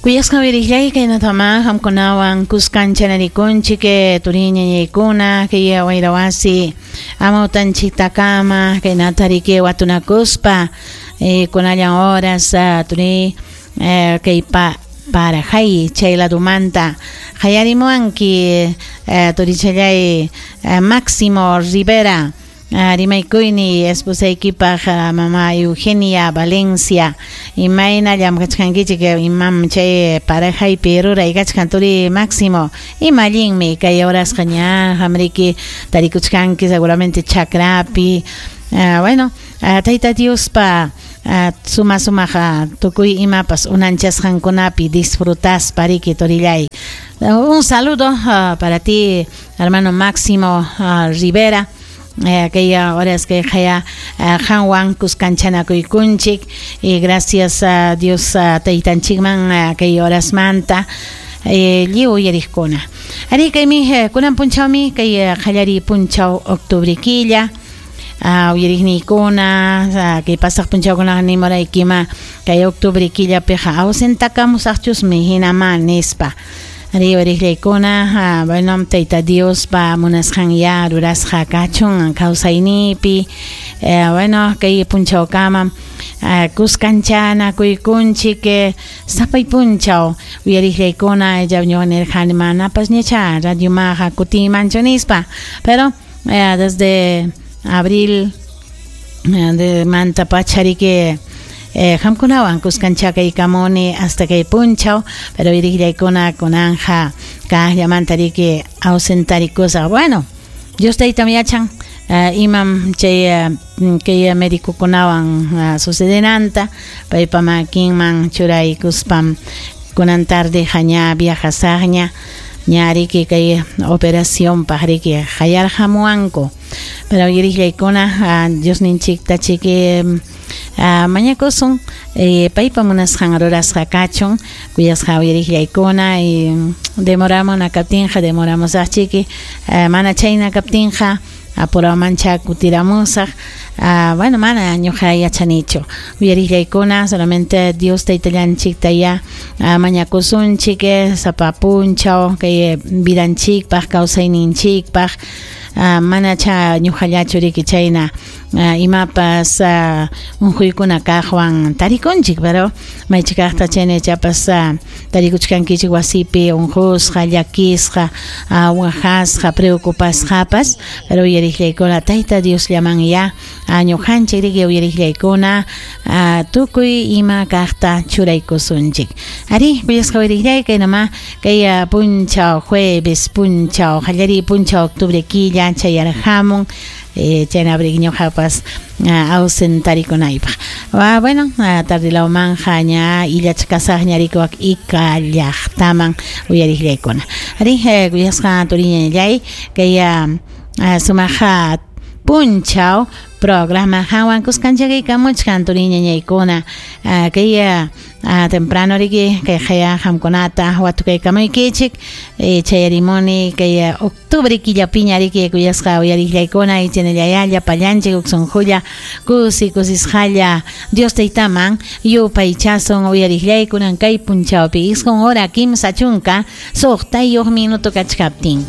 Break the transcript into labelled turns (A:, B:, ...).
A: Kuyasqa uyariqllay kaynatama qamkunawan kuskanchanarikunchik turi ñañaykuna kay wayrawasi amawtanchiktakama kaynata riki watunakuspa kunallan horas turi kay parajay chay ladumanta qayarimuwanki turichallay Máximo Rivera rimaykuyni esposaykipaq mama Eugenia Valencia imayna llamkachkankichik imam chay parajaypi ruray kachkan turi Máximo ima allinmi kay horasqa ña qamriki tarikuchkanki seguramente chakrapi bueno Tayta Diospa suma sumaq tukuy imapas unanchasqankunapi disfrutaspa riki turillay. Un saludo para ti hermano Máximo Rivera. Kay horas kay qaya qanwan kuskanchanakuykunchik y gracias a Dios taytanchikman kay horasmanta lliw uyariqkuna. Ari kaymi kunan punchawmi kay qallariy punchaw octubre killa uyariqniykuna kay pasaq punchawkunaqa nimuraykima kay octubre killapiqa ausentakamusaqchusmi hinama nispa. Ari uyariqllaykuna bueno Tayta Diospa munasqan ya rurasqa kachun kawsayniypi bueno kay punchawkama kuskanchanakuykunchik sapay punchaw uyariqllaykuna ñuqa nirqani manapas ñacha radiomaqa kutiymanchu nispa pero desde abril de manta pachariki qamkunawan kuskanchakaykamuni hasta kay punchaw pero uyariqllaykuna kunanja kaqllamanta riki ausentarikusaq bueno Dios taytam yachan imam chay kay médicokunawan sucedenanta paypa makinman churaykuspam kunan tarde ña viajasaqña ña riki kay operacionpaq riki qayarqamuwanku pero uyariqllaykuna Diosninchikta chiki mañakusun paypa munasqan rurasqa kachun kuyasqa uyariqllaykuna y demoramuna kaptinqa demoramusaqchiki mana chayna kaptinqa apuramancha kutiramusaq bueno mana ñuqa yachanichu uyariqllaykuna solamente Dios taytallanchikta ya mañakusunchik sapa punchaw kay vidanchikpaq kawsayninchikpaq manacha ñuqallachu riki chayna imapas unquykuna kaqwan tarikunchik pero maychikaqta chayna ichapas tarikuchkankichik wasipi unqusqa llakisqa waqasqa preocupasqapas pero uyariqllaykuna Tayta Diosllaman ya ñuqanchik riki uyariqllaykuna tukuy ima kaqta churaykusunchik ari kuyasqa uyariqllay kaynama kay punchaw jueves punchaw qallariy punchaw octubre killa chayarqamun chayna riki ñuqapas ausentarikunaypaq bueno tardilawmanja ña illachkasaqña riki wak Ica llaqtaman uyariqllaykuna ari kuyasqa turiñallay kay sumaqa punchaw programa qanwan kuskanchakaykamuchkan turiñañaykuna kay temprano riki kay qaya qamkunata watukaykamuykichik chayarimuni kay octubre killapiña riki kuyasqa uyariqllaykuna chaynallayá llapallanchik huk sunqulla kusi kusisqalla Dios taytaman yupaychasun uyariqllaykunan kay punchawpi 9 hora 36 minuto kachkaptin.